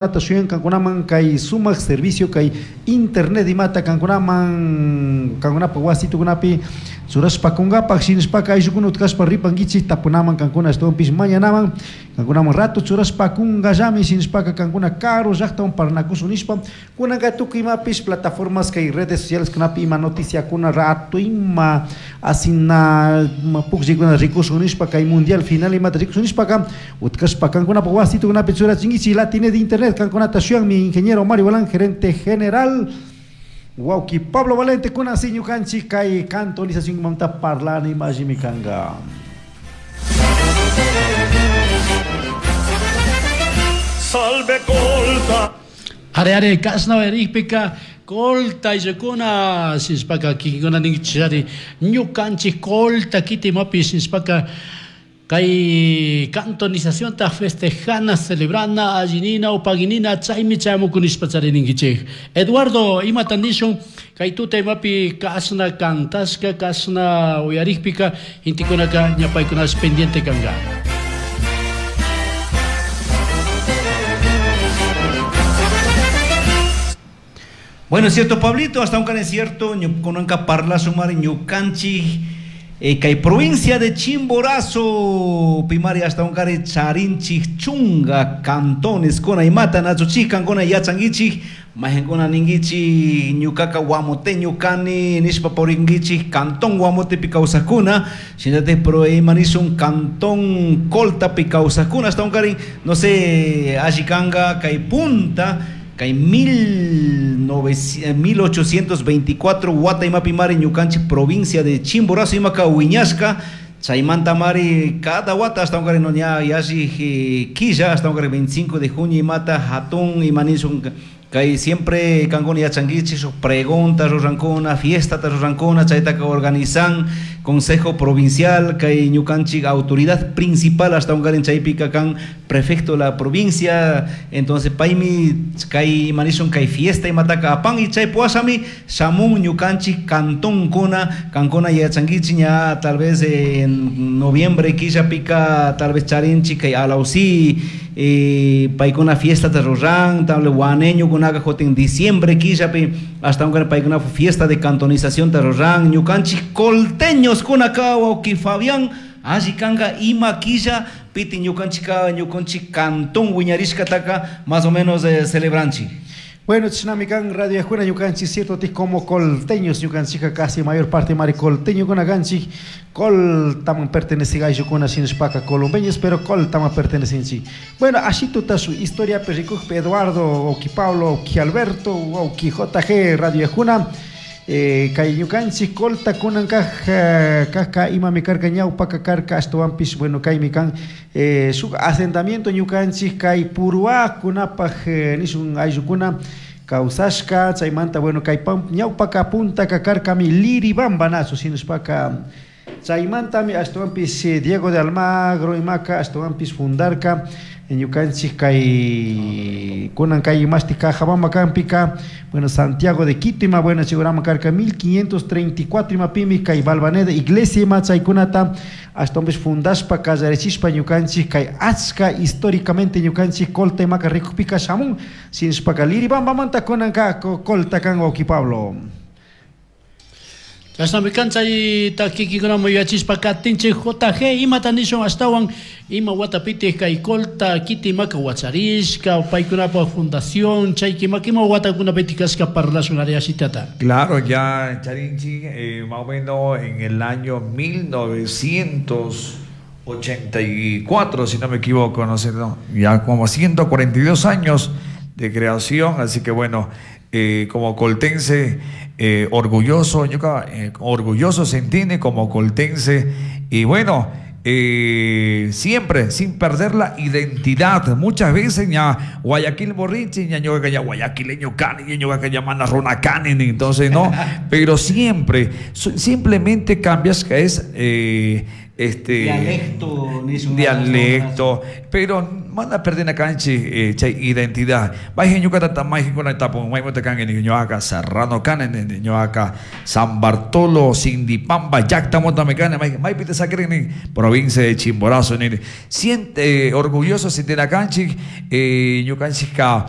Shuyan kankunaman kay sumak servicio kay internet imata kankunaman kankunapa wasitukunapi churashpa kunkapak shinashpaka ayllukuna utkashpa ripankichik tapunaman kankuna ashtawanpish mañanaman kankunaman rato churashpa kunkallami shinashpaka kankuna karu llaktawan parlanakushun nishpa kunanka tukuy imapish plataformas kay redes sociales kunapi ima noticiakuna rato ima asina pukllaykuna rikushun nishpa kay mundial final imata rikushun nishpaka utkashpa kankunapa wasitukunapi churachinkichik Latinet internet kankunata shuyanmi ingeniero Mario Balán gerente general wawki Pablo Valente kunan si ñukanchik kay cantonización parlani imallimi kanka. Salve colta. Are are kasna erikpika colta ayllukuna shinashpaka kikinkuna ninkichishari ñukanchik colta kiti imapi shinashpaka kay cantonizacionta festejana celebrana allinina upaginina chaymi chayamukunishpa charininkichik. Eduardo imata nishun kay tuta imapi kasna cantashka kasna uyarikpika intikunaka ñapaykunash pendiente kanka. Bueno, es cierto, Pablito, hasta un es cierto, ñukanka parla sumar ñukanchik kay provincia de Chimborazo, pimari hasta un kari charinchik chunga cantones kuna imata nachuchik kankuna yachankichik majenkuna ninkichik ñukaka guamoteño kani nishpa purinkichik cantón Guamotepi kawsakuna shinallatik pero imanishun cantón Coltapi kawsakuna hasta un kari no sé alli kanka kay punta kay 1824 wata imapi mari ñukanchik provincia de Chimborazo imaka wiñashka chaymanta mari cada wata hasta un no ña yalli quilla hasta un 25 de junio imata hatun imanishun kay siempre kankuna yachankichik shuk pregunta rurankuna fiesta rurankuna chaytaka organizan consejo provincial kay ñukanchik autoridad principal hasta un chaypika kan prefecto de la provincia entonces paymi kay imanishun kay fiesta imataka apan y chay puashami shamun ñukanchik cantonkuna kankuna yachankichik ña tal vez en noviembre quillapika tal vez charinchik kay Alausí paykuna fiesta ruran tal vez guaneño kunaka jotin diciembre quillapi hasta un paykuna fiesta de cantonización ruran ñukanchik colteños kunaka wawki Fabián alli kanka ima quilla piti ñukanchika ñukanchik cantón wiñarishkataka más o menos celebranchik. Bueno, chishnami kan Radio Yajuna ñukanchik cierto ti como colteños ñukanchika casi mayor parte mari colteño kunakanchik coltaman pertenece ayllukuna shinashpaka colombeños pero coltaman pertenecenchik. Bueno, ashituta su historia perrikukpi Eduardo, Oki Pablo, Oki Alberto, Oki JG Radio Yajuna kay ñukanchik colta kunan kajka imami karka ñawpaka karka ashtawanpish bueno kaymi kan shuk asentamiento ñukanchik kay puruakunapaj nishun ayllukuna kawsashka chaymanta bueno kay ñawpaka puntaka karkami Liribamba nachu shinashpaka chaymantami ashtawanpish Diego de Almagro imaka ashtawanpish fundarka ñukanchik kay kunan kay imashti Cajabamba kampika bueno Santiago de Quito ima bueno chigurama karka 1534 imapimi kay Balvaneda iglesia ima chaykunata ashtawanpish fundashpa kallarishpa ñukanchik kay achka históricamente ñukanchik colta imaka rikukpika shamun shinashpaka Liribambamanta kunanka colta kan wawki Pablo. Chashnami kan chay takikikunaman yuyachishpa katinchik JG imata nishun ashtawan ima watapitik kay colta kiti imaka wacharishka paykunapa fundación chayki imaka ima watakunapitik kashka parlashun ari ashitata. Claro, ya charinchik más o menos en el año 1984, si no me equivoco, no sé, no, ya como 142 años de creación, así que bueno, como coltense orgulloso, orgulloso se entiende como coltense y bueno, siempre sin perder la identidad. Muchas veces ya Guayaquil borrichi, ya ñoqa ya guayaquileño cani, ya ñoqa ya mana runa cani, entonces no, pero siempre, simplemente cambias que es Este, Dialecto, nishun. Dialecto, pero mana perdina canchi chay identidad. Mayjin ñuka mayjin kuna tapun, maymanta kanki ni ñuka Serrano kani ni ñuka San Bartolo, Sindipamba, llaktamanta kani, maypi te saquirin ni provincia de Chimborazo ni siente orgulloso sintina kanchik ñukanchik ka.